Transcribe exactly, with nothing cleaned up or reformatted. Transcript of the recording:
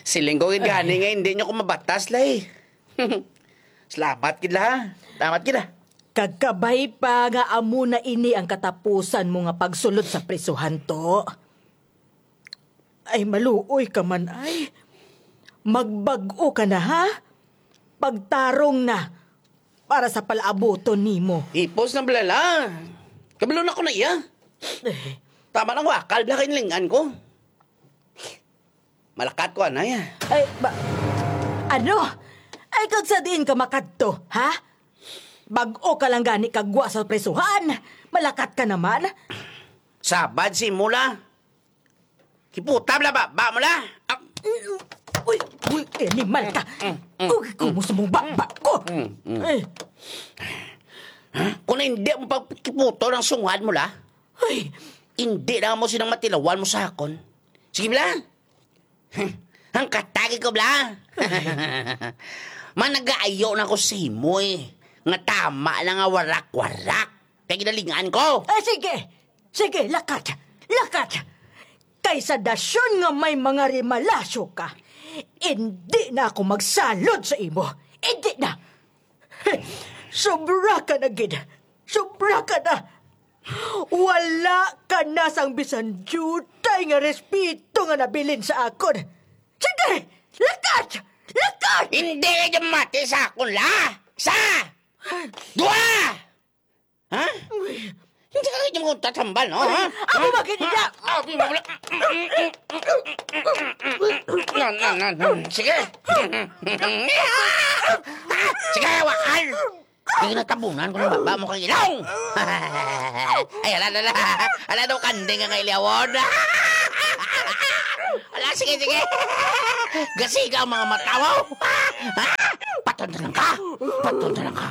Siling ko gid gani nga hindi nyo ko mabatas, Lay. Salamat gid la, ha? Salamat gid, ah. Kag kabay pa nga amo na ini ang katapusan mo nga pagsulod sa prisuhan, to. Ay, maluoy ka man, ay. Magbag-o ka na, ha? Pagtarong na para sa palaabuton nimo. Hipos na bala la. Kabalo na ko na iya. Eh. Tama nang wakal bala kay lingan ko. Malakat ko, anay, ah. Ay, ba, ano? Ay, kag sa diin ka makadto, ha? Bag-o ka lang gani kagwa sa prisuhan. Malakat ka naman. Sabad si Mula. Kiputa bala ba, ba mo la? Ah, Uy, uy, animal ka. Mm, mm, Uy, kumo sa mong baba ko. Mm, mm. Eh, Kung hindi mo pagkiputo ng sungad mo la, Uy, hindi na mo sinang matilawan mo sa akon. Sige bala. Ang katagi ko bala. Managaayo na ko sa imo eh. Nga tama na nga warak-warak. Kay ginalingan ko. Eh, sige. Sige, lakat. Lakat. Kay sa dasyon nga may mga rimalasyo ka, hindi na ako magsalod sa imo. Hindi na. Sobra ka na gid. Sobra ka na. Wala ka na sang bisan diutay nga respeto nga nabilin sa akon. Sige, lakat. Lakat. Hindi ka dyan mati sa akon, la. Sa! Dua! Ha? Uy. Hindi ka kayo mo tatambal, no? Uy, ha? Ako Ha? ba ganyan? Ha? Ah, di mo wala. Na, na, na, na. Sige. Sige, wakal. Hindi natabunan ko ng baba mo kang ilong. Ay, ala, ala, ala. Ala daw kanding ang ilawon. Ala, sige, sige. Gasiga ang mga mata mo. Ha? Patol na lang ka. Patol na lang ka.